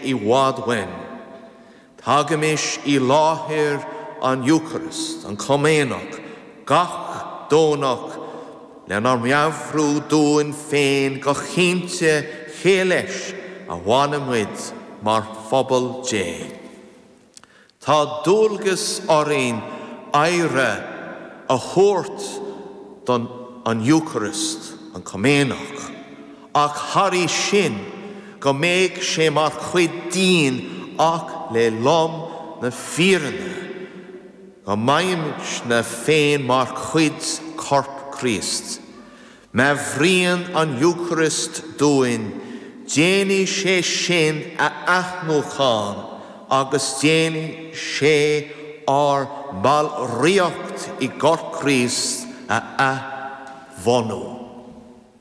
i bhfad uainn. Tagaimis i láthair an Eucharist, an Comaoineach, gach Domhnach lenár meabhrú dúinn féin go cinnte cé leis a bhainimid mar phobal Dé. Tá dualgas orainn aire a thabhairt don an Eucharist, an Comaoineach, ach thairis sin, go mbeidh sé mar chuid dínn ach le lom na fírinne, go mbeimidne féin mar chuid Corp Chríost. Meabhraíonn an Eocairist dúinn, déanfaidh sé sinn a athnuachan agus déanfaidh sé ár mballraíocht i gCorp Chríost a athbhunú.